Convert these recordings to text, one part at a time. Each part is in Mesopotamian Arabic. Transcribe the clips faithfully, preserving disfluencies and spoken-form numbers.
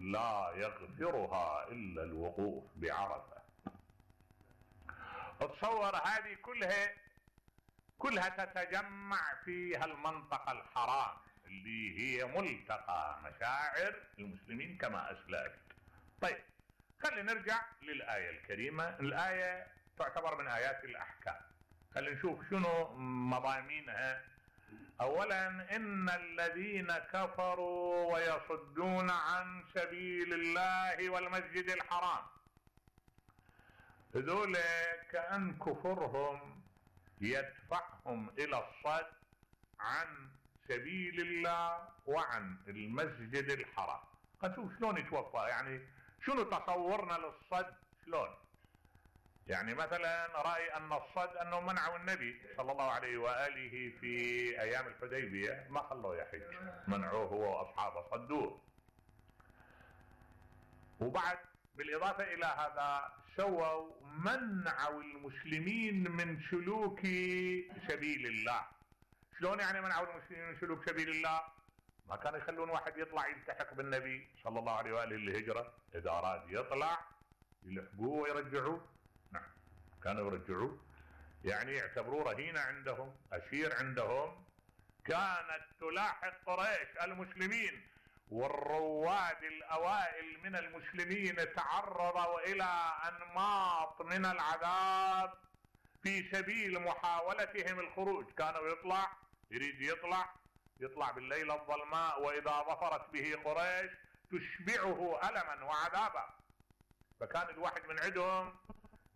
لا يغفرها الا الوقوف بعرفة. تصور هذه كلها كلها تتجمع في هالمنطقة الحرام اللي هي ملتقى مشاعر المسلمين كما اسلفت. طيب خلينا نرجع للآية الكريمة. الآية تعتبر من آيات الأحكام. خلينا نشوف شنو مضامينها. أولا إن الذين كفروا ويصدون عن سبيل الله والمسجد الحرام، هذول كأن كفرهم يدفعهم إلى الصد عن سبيل الله وعن المسجد الحرام. نشوف شلون يتوفى، يعني شنو تصورنا للصد شلون. يعني مثلا رأي أن الصد أنه منعوا النبي صلى الله عليه وآله في أيام الحديبية، ما خلوه يحج، منعوه هو وأصحابه، صدوه. وبعد بالإضافة إلى هذا سووا منعوا المسلمين من سلوك سبيل الله. شلون يعني منعوا المسلمين من سلوك سبيل الله؟ ما كانوا يخلون واحد يطلع يلتحق بالنبي صلى الله عليه وآله الهجرة، إذا أراد يطلع يلحقوه ويرجعوه. نعم كانوا يرجعوه، يعني يعتبروه رهينة عندهم، أسير عندهم. كانت تلاحق قريش المسلمين، والرواد الأوائل من المسلمين تعرضوا إلى أنماط من العذاب في سبيل محاولتهم الخروج. كانوا يطلع يريد يطلع يطلع بالليل الظلماء، وإذا ظفرت به قريش تشبعه ألما وعذابا. فكان الواحد من عندهم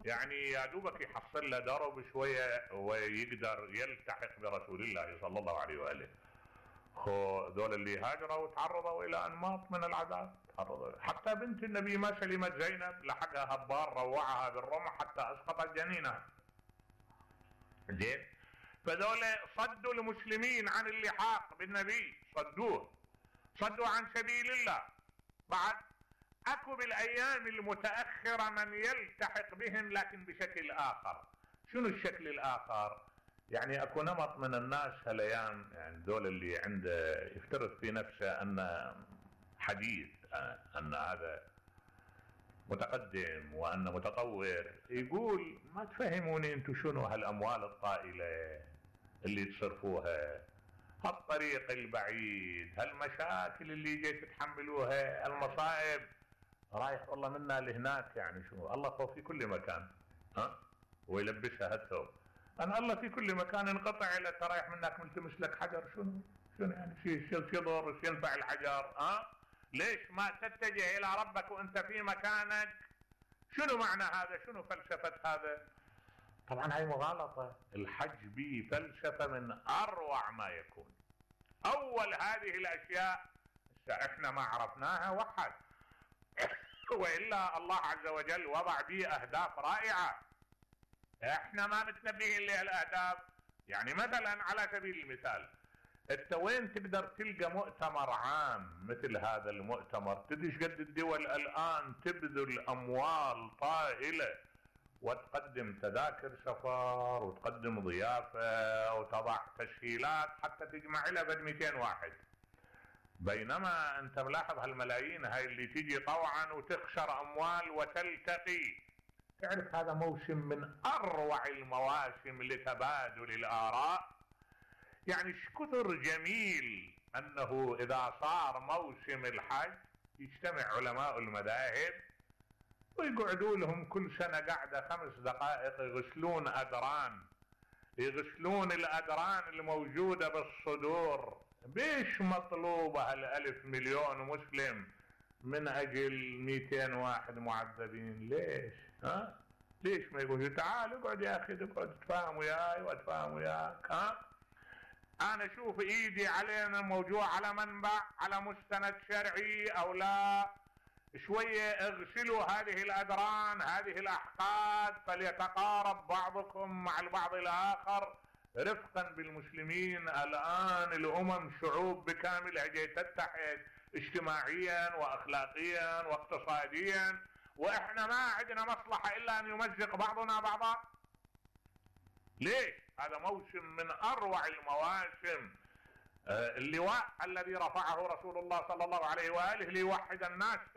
يعني يا دوبك يحصل له درب شوية ويقدر يلتحق برسول الله صلى الله عليه وآله. ذول اللي هاجروا وتعرضوا إلى أنماط من العذاب، تعرضوا. حتى بنت النبي ما سلمت زينب، لحقها هبار روعها بالرمح حتى أسقطت جنينها. زين، فذول صدوا المسلمين عن اللحاق بالنبي، صدوه، صدوا عن سبيل الله. بعد اكو بالايام المتاخره من يلتحق بهم لكن بشكل اخر. شنو الشكل الاخر؟ يعني اكو نمط من الناس هالايام، يعني دول اللي عنده يفترض في نفسه ان حديث، ان هذا متقدم وان متطور، يقول ما تفهموني انتم شنو هالاموال الطائله اللي تصرفوها، هالطريق البعيد، هالمشاكل اللي جاي تتحملوها، المصائب، رايح والله منا لهناك. يعني شنو الله فوق في كل مكان، ها ويلبسها هالثوب. انا الله في كل مكان، انقطع الى رايح منك ملتمس لك حجر. شنو شنو يعني شيء شيء يضر ينفع الحجر؟ ها ليش ما تتجه الى ربك وانت في مكانك؟ شنو معنى هذا؟ شنو فلسفة هذا؟ طبعا هاي مغالطة. الحج به فلسفة من اروع ما يكون. اول هذه الاشياء احنا ما عرفناها وحد، وإلا الله عز وجل وضع به أهداف رائعة احنا ما متنبهين لها الأهداف. يعني مثلا على سبيل المثال، انت وين تقدر تلقى مؤتمر عام مثل هذا المؤتمر؟ تدري قد الدول الآن تبذل أموال طائلة وتقدم تذاكر سفر وتقدم ضيافة وتضع تسهيلات حتى تجمع لها بد مئتين واحد، بينما انت ملاحظ هالملايين هاي اللي تيجي طوعا وتخسر اموال وتلتقي. تعرف هذا موسم من اروع المواسم لتبادل الاراء. يعني شكثر جميل انه اذا صار موسم الحج يجتمع علماء المذاهب ويقعدوا لهم كل سنة قاعدة خمس دقائق يغسلون ادران، يغسلون الادران الموجودة بالصدور. بيش مطلوبة هالالف مليون مسلم من اجل مئتين واحد معذبين؟ ليش؟ ها؟ ليش ما يقول تعال اقعد يا اخي، اقعد اتفاهم وياي واتفاهم وياك. ها؟ انا اشوف ايدي علينا موجوع على منبع، على مستند شرعي او لا، شوية اغسلوا هذه الادران، هذه الاحقاد، فليتقارب بعضكم مع البعض الاخر رفقا بالمسلمين. الان الامم شعوب بكاملها جاي تتحد اجتماعيا واخلاقيا واقتصاديا، واحنا ما عندنا مصلحة الا ان يمزق بعضنا بعضا. ليش؟ هذا موسم من اروع المواسم. آه اللواء الذي رفعه رسول الله صلى الله عليه وآله ليوحد الناس